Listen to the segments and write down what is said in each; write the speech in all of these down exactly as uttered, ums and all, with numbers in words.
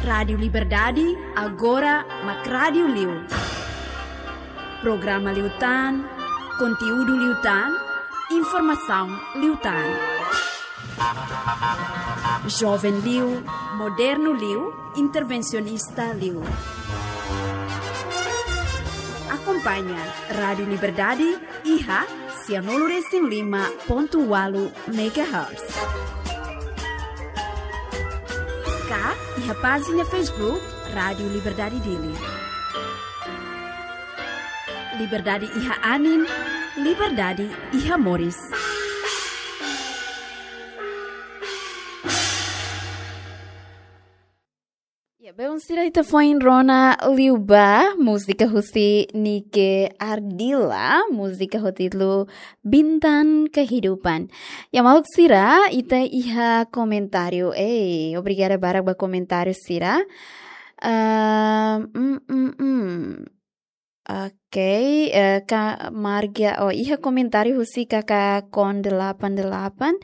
Rádiu Liberdade, agora mak rádiu liu. Programa liután, konteúdu liután, informasaun liután. Joven liu, modernu liu, intervensionista liu. Akompaña Rádiu Liberdade iha sianulu resin lima pontu ualu megahertz. Ka iha pájina Facebook Rádiu Liberdade Dili. Liberdade iha anin, liberdade iha moris. Ya, belun sira, ita foin rona liu ba múzika husi Nike Ardila, múzika ho títulu Bintang Kehidupan. Ya, maluk sira, ita iha komentáriu. Ei, obrigada barak ba komentáriu sira. Ehm, mm, mm, mm. Oke, eh, ka Marga, oh, iha komentáriu husi K K Kon delapan delapan.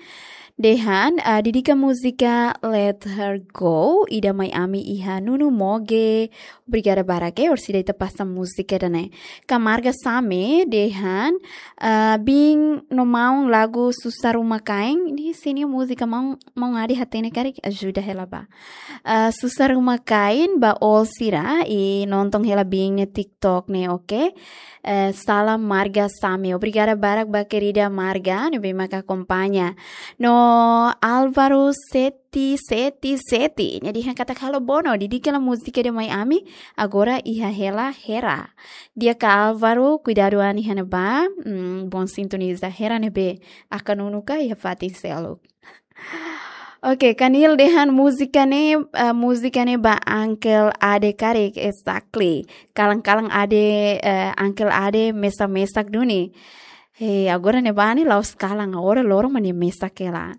Dehan, ah, dedika múzika Let Her Go, ida mai ami iha Nunu Moge. Obrigada barak, eh, orsida ita pasa múzika ida-ne'e. Ka Marga Same, dehan, ah, biin no maun lagu Susar Uma Kain. Ne'e sini múzika maun, maun Adi hatene karik, ajuda hela ba. Ah, Susar Uma Kain ba ol sira, i nonton hela biin nia TikTok ne'e, oke? Eh, salam Marga Same. Obrigada barak ba kerida Marga, ne'ebé maka akompaña. No Álvaro Seti, Seti, Seti. Nia dehan katak halo Bono, dedika hela múzika ida mai ami, agora iha hela Hera. Di'ak ka Álvaro, kuidadu an iha ne'ebá, mm, bom sintoniza Hera ne'ebé akan unu ka iha fatin seluk. Oke, Kanil dehan múzika ne'e, eh, múzika ne'e ba Uncle Ade karik, exactly. Kalan-kalan Ade, eh, Uncle Ade mesak-mesak duni. Hei, agora ne'ebá ne'e la'ós kalan, agora loron mak nia mesak hela.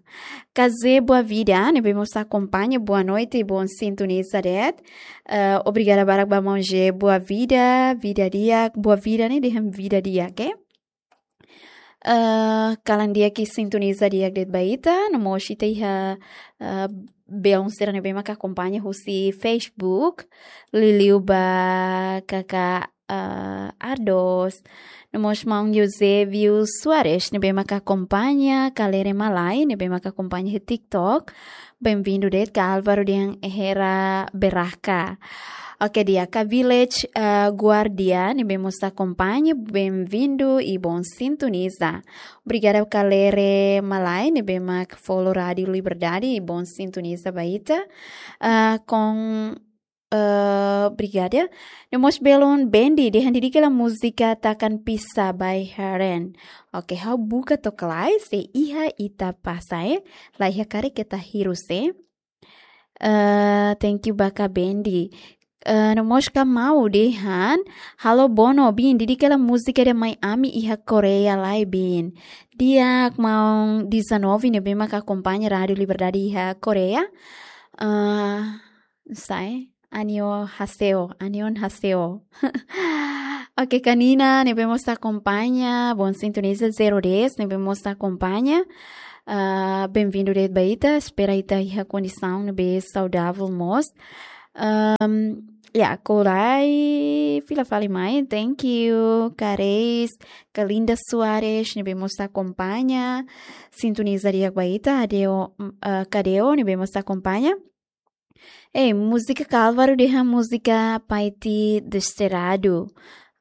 Ka Zé Boa Vida, ne'ebé mós akompaña, boa noite, bom sintoniza de'it. Eh, obrigada barak ba maun Zé Boa Vida, vida di'ak, Boa Vida ne'e dehan vida di'ak, eh? Eh, kalan di'ak i sintoniza di'ak de'it ba ita, no mós ita iha, eh, belun sira ne'ebé maka akompaña husi Facebook, liuliu ba K K, eh, Ardos, no mós maun Eusébio Soares, ne'ebé maka akompaña Kalere Malai, ne'ebé maka akompaña iha TikTok, bem-vindo de'it ka Álvaro dehan Hera Beraka. Oke, di'ak ka Village, eh, Guardia, ne'ebé mós akompaña, bem-vindo i bom sintoniza. Obrigada Kalere Malai, ne'ebé mak follow Rádiu Liberdade i bom sintoniza ba ita. Ah, kon, eh, obrigada. No mós belun Bendi, dehan dedika hela múzika Takkan Pisah by Heren. Oke, ha'u buka to'ok lai, se iha ita pasa, eh. La iha karik ita hirus, eh. Eh, thank you ba ka Bendi. Eh, no mós ka Mau dehan, halo Bono, biin, dedika hela múzika ida mai ami iha Koreia lai, biin. Di'ak maun dezanove ne'ebé maka akompaña Rádiu Liberdade iha Koreia. Eh, sai, annyeonghaseyo, annyeonghaseyo. Oke, Kanina, ne'ebé mós akompaña, bom sintoniza, zero dez, ne'ebé mós akompaña. Ah, bem-vindo de'it ba ita, espera ita iha kondisaun ne'ebé saudável mós. Ahm, ya, Korai, fila fali mai, thank you, Kareis, Kalinda Soares, ne'ebé mós akompaña, sintoniza di'ak ba ita, Adeo, mm, ah, Kadeo, ne'ebé mós akompaña. Eh, múzika Álvaro dehan múzika Paiti Desterrado.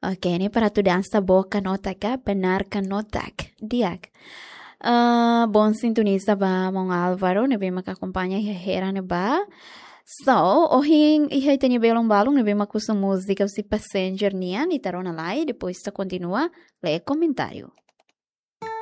Oke, ne'e para atu dansa boka notak ka, benar ka notak. Di'ak. Eh, bom sintoniza ba maun Álvaro, ne'ebé maka akompaña iha Hera ne'ebá. So, ohin iha ita-nia belun balun, ne'ebé mak husu múzika husi Passenger nian, ita rona lai, depois ita kontinua lee komentáriu.